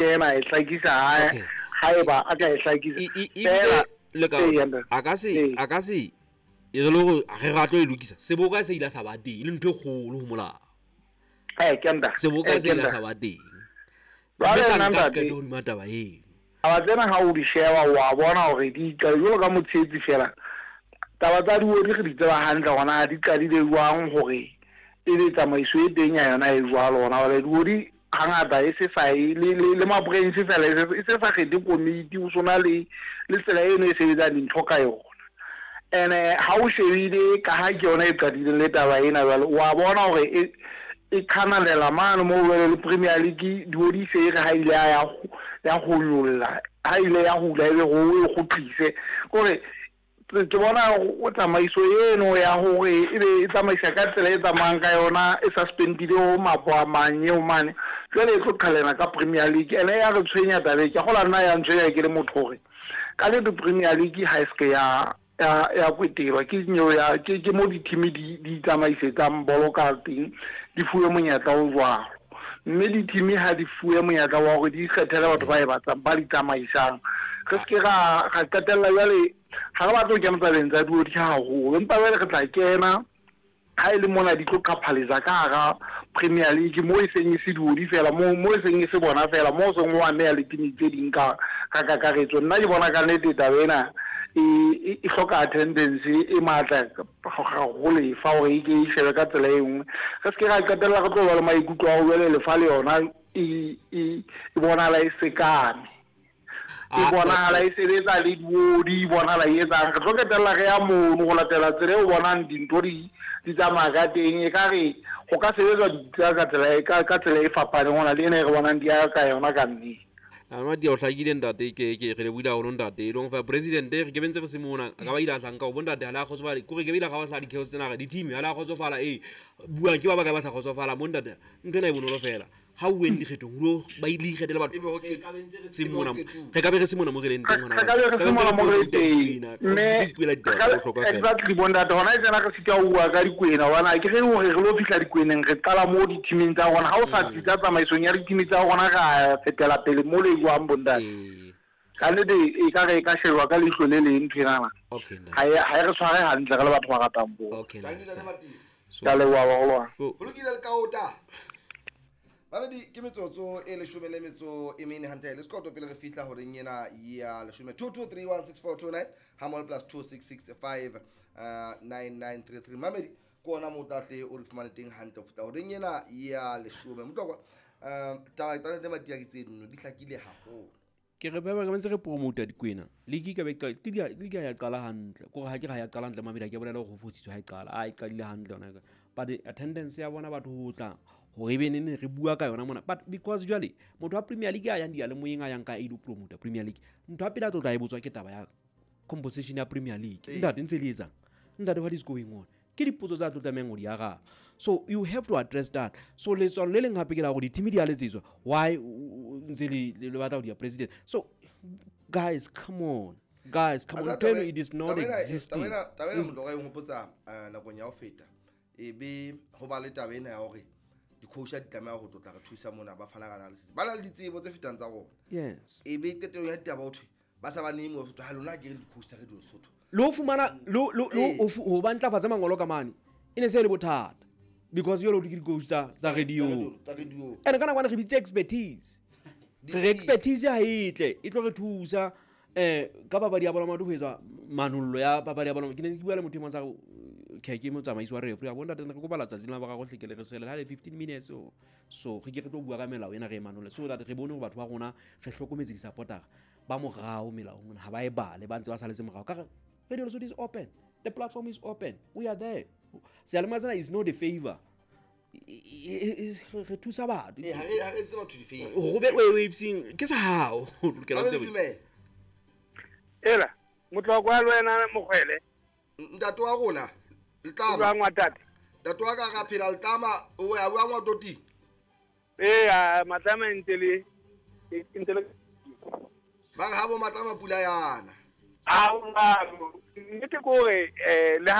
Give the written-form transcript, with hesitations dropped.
Kena e hlakisa haeba a ka e hlakisa fela le ka a ka se e re le hore re ratlo e lokisa seboka se ile sa ba teng le ntho e kgolo ho molao. Ke nda seboka se ile sa ba teng ba sa nka qeto hodima taba eo. Taba tsena ha o di sheba wa bona hore di qadile jwalo ka motshehetsi fela. Taba tsa diodi re di tseba hantle hona di qadile jwang hore e be tsamaiso e teng ya yona e jwalo hona jwale. Diodi hangata e se sa le ma-branch fela e se sa kgethe komiti, o sona le tsela eno e sebetsang dintho ka yona. Ene ha o shebile ka ha ke yona e qadileng le taba ena jwale, wa bona hore e qhanalela mane moo jwale le Premier League diodi se re ha ile ya ho nyolla, ha ile ya hula ebe ho e kgutlise. Kore ke bona o tsamaiso eno ya hore ebe e tsamaisa ka tsela e tsamayang ka yona e suspendile ho mapo a mang eo mane, jwale e tlo qhalena ka Premier League. Ene ya re tshwenya taba e, ke kgola nna ya ntshwenya ke le motho hore ka nnete Premier League ha e se ke ya kwetelwa ke nyeo ya ke mo di-team di tsamaisetsang bolo ka teng, di fuwe monyetla o jwalo. Mme di-team ha di fuwe monyetla wa hore di ikgethele batho ba e batlang ba di tsamaisang. Re se ke ra qetella jwale ha re batle ho kena tabeng tsa diodi haholo, empa jwale re tla kena ha e le mona di tlo qaphaletsa ka hara Premier League mo e seng e se diodi fela, mo e seng e se bona fela, mo seng ho ameha le team tse ding ka kakaretso. Nna ke bona ka nnete taba ena e hloka attendance e matla haholo lefa hore e ke e shebe ka tsela e nngwe. Re se ke ra qetella re tlo ba le maikutlo a ho jwale lefa le yona e bonahala e sekame, e bonahala e sebetsa le diodi, e bonahala e etsang. Re tlo qetella re ya mono ho latela tsela eo bonang dintho di tsamaya ka teng. E ka re ho ka sebetswa ditaba ka tsela e fapaneng hona le ena e re bonang di ya ka yona ka nnete. Matia o hlakile ntate, ke re lebohile haholo ntate. E leng fa president re ke bentse re se mona ka ba ile a hlanka ho bontate ha la kgotsofala, kore ke be ile ga wa hla di-chaos tsena re di-team ha la kgotsofala. Buang ke ba bakae ba sa kgotsofala mo ntate, ntho ena e bonolo fela. Ha o weng dikgethong lo ba ile ikgethele batho. Re ka be re se mona mo re leng teng hona. Re ka be re se mona mo re leng teng. Mme exactly bontate hona e tsena re sita ho bua ka dikwena hobane ke re hore re lo fihla dikweneng re qala mo di-teaming tsa rona. Ha o sa tsitsa tsamaisong ya di-team tsa rona ra fetela pele mo le jwang bontate. Ka nnete e ka re e ka shejwa ka leihlo le leng ntho enana. Ha e re tshware hantle re le batho ba ratang bolo. Ka leboha baholo. Ho lokile le kaota. Babedi ke metsotso e leshome le metso e mene hantle le sekoto pele re fihla horeng ena ya leshome. 22316429 hamol plus 2665 9933. Mamedi ke ona mo tlahle o re fumane teng hantle ho fihla horeng ena ya leshome. Motlokwa taba tsa le Matia ke tse nno di hlakile haholo. Ke re ba ba ntse re promote dikwena. League ka be league ya qala hantle. Kore ha ke ra ya qala hantle mamedi ke bolela hore ho fositswe ha e qala. A e qadile hantle yona. But attendance ya bona batho ho tla hore ebe nene re bua ka yona mona. But because jwale motho wa Premier League a yang diyalemoyeng a yang ka e lo promote Premier League, ntho ya pele a tlo tla e botswa ke taba ya composition ya Premier League. Ntate ntse le etsang, ntate what is going on, ke dipotso tsa tlo tlamehang ho di araba. So you have to address that. So letswalo le leng hape ke la hore di-team di a letsetswa, why ntse le batla ho di ya president. So guys, come on. Guys, come on, tell me it is not existing. Taba ena motho ka e nhopotsa nakong ya ho feta. E be ho ba le taba ena ya hore di-coach di tlameha ho tlotla re thusa mona ba fana ka analysis. Ba na le ditsebo tse fetang tsa rona. Yes. E be qetellong ya ditaba ho thwe ba sa ba name ho Sotho, ha lona ke re di-coach tsa Radio Lesotho. Le ho fumana le ho ba ntlafatsa mangolo ka mane e ne se le bothata because yo lo ke di-coach tsa radio. Ene ka nakwana re bitse expertise. Re expertise ha e tle e tlo re thusa ka papadi ya bolo maoto ho etswa manollo ya papadi ya bolo. Ke ne ke bua le motho e mong sa ke motsamaisi wa referee a bona ntate re kopa letsatsi la boraro hle ke le re sele ha le 15 minutes so re ke re tlo bua ka melao ena re e manolle so that re bone hore batho ba rona re hlokometse di-supportera ba morao melaong mona ha ba e bale ba ntse ba saletse morao. Ka re Radio Lesotho is open, the platform is open, we are there. Seyalemoya sena is not a favor. Re thusa batho. Ha re etse batho di-favor. Hore o be wavesing ke sa hao. Ela motlokwa le wena Mokgwele. Ntate wa rona Letlama. Jwang wa tate? Ntate wa ka ra phela Letlama o ya bua ngwa toti. Matlama ntse le ba re ha bo Matlama pula yana. A nnete ke hore le ha